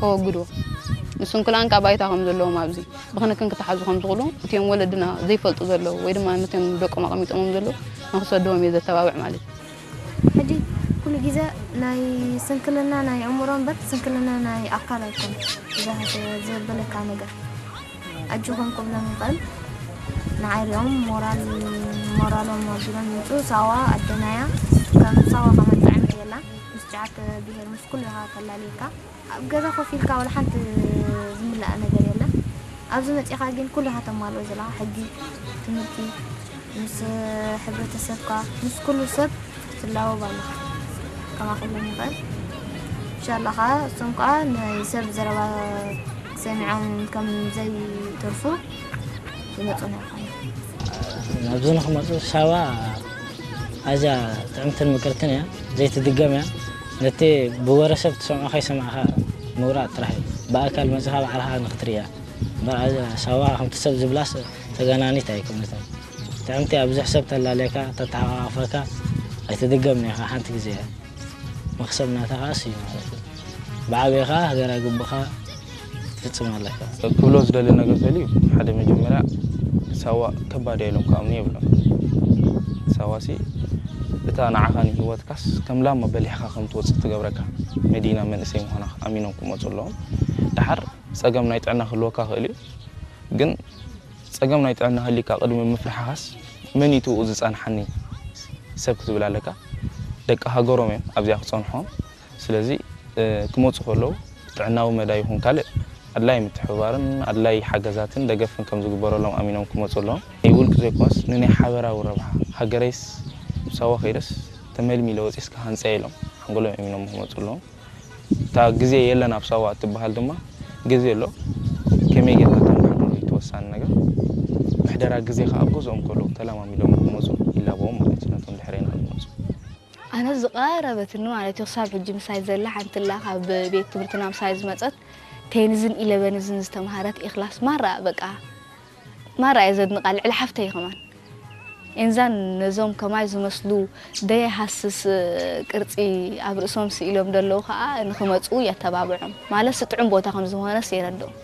ከወግድዎ፣ ንስንኩላን ካብ ባይታ ከም ዘለዎም፣ ኣብዚ ብክንክን ክተሓዙ ከም ዝኽእሉ፣ እቲኦም ወለድና ዘይፈልጡ ዘለዉ ወይ ድማ ነቶም ደቆም ኣቐሚጦሞም ዘለዉ ንክሰድዎም እየ ዘተባብዕ ማለት እዩ። ሕጂ ኩሉ ግዜ ናይ ስንክልና ናይ ኣእምሮ እምበር ስንክልና ናይ ኣካል ኣይኮን። እዛ ዘበለካ ነገር ኣጆኹም ክብሎም ይኽእል። ንዓይ ሪኦም ሞራል ሞራሎም ኣቢሎም ይምፁ። ሳዋ ኣደናያ ከም ሳዋ ከማን ጥዕምቲ የላ ምስ ጫት ብሄር ምስ ኩሉ ኢኻ ተላልየካ። ኣብ ገዛ ኮፍ ኢልካ ዋላ ሓንቲ ዝምላእ ነገር የለን። ኣብዚ መፂኻ ግን ኩሉ ኢኻ ተማልኦ ዘለኻ፣ ሕጊ፣ ትምህርቲ፣ ምስ ሕብረተሰብካ፣ ምስ ኩሉ ሰብ ትላወብ ኣለኻ። ከማኹሎም ይኽእል። እንሻላ ኸዓ እሶም ከዓ ናይ ሰብ ዘረባ ሰሚዖም ከም ዘይተርፉ ይመፁና ይኾኑ። ናብዚ ንክመፁ ሳዋ ኣዝያ ጥዕምትን ምቅርትን እያ፣ ዘይትድገም እያ። ነቲ ብወረ ሰብ ትሰምዖ ከይሰማዕካ ምውራድ ጥራሕ እዩ። ብኣካል መፅኻ ባዕልኻ ንክትርእያ እምበር ኣዝያ ሳዋ ከምቲ ሰብ ዝብላስ ተጋናኒት ኣይኮነትን። ጥዕምቲ እያ፣ ብዙሕ ሰብ ተላለየካ፣ ተተሓቋቋፈካ፣ ኣይትድገምን ኢኻ፣ ሓንቲ ግዜ እያ። መኽሰብ ናታ ከኣ እሱ እዩ ማለት እዩ። ብዓብኻ ሃገራዊ ግቡኻ ትፍጽም ኣለካ። ክብሎ ዝደሊ ነገር ተልዩ ሓደ መጀመርያ ሳዋ ከባድ እያ ኢሎም ክኣምኑ የብሎም። ሳዋ ሲ እታ ንዓኻ ንህይወትካስ ከም ላማ በሊሕካ ከም ትወፅእ ትገብረካ መዲና መንእሰይ ምዃና ኣሚኖም ክመፁ ኣለዎም። ደሓር ፀገም ናይ ጥዕና ክህልወካ ክእል እዩ ግን ፀገም ናይ ጥዕና ህሊካ ቅድሚ ምፍርሓኻስ መን እዩ ትብኡ ዝፀንሓኒ ሰብ ክትብል ኣለካ። ደቂ ሃገሮም እዮም ኣብዚኣ ክፀንሖም። ስለዚ ክመፁ ከለዉ ጥዕናዊ መዳይ ይኹን ካልእ ኣድላይ ምትሕብባርን ኣድላይ ሓገዛትን ደገፍን ከም ዝግበረሎም ኣሚኖም ክመፁ ኣለዎም። ናይ ውልቂ ዘይኮነስ ንናይ ሓበራዊ ረብሓ ሃገረይስ ሳዋ ከይደስ ተመልሚለ ወፂስ ክሃንፀ ኢሎም ሓንጎሎም ኣሚኖም ክመፁ ኣለዎም። እታ ግዜ የለን ኣብ ሳዋ እትበሃል ድማ ግዜ ኣሎ። ከመይ ጌርካ ተመሓድሮ እዩ እቲ ወሳኒ ነገር። ምሕደራ ግዜ ከኣ ኣብ ገዝኦም ከለዉ ተለማሚዶም ንክመፁ ይላበዎም ማለት እዩ ነቶም ድሕሬና ዝመፁ። ኣነ ዝቐረበትኒ ማለት እዩ ክሳብ ሕጂ ምሳይ ዘላ ሓንቲ ኣላ ካብ ቤት ትምህርትና ምሳይ ዝመፀት ቴንዝን ኢለቨንዝን ዝተምሃረት ኢኽላስ ማራ በቃ ማራ እየ ዘድንቓ ልዕሊ ሓፍተይ ከማን ኤንዛን ነዞም ከማይ ዝመስሉ ደየሃስስ ቅርጺ ኣብ ርእሶም ስኢሎም ደለዉ ከኣ ንኽመጽኡ የተባብዖም ማለትሲ ጥዑም ቦታ ከም ዝኾነስ የረድኦም።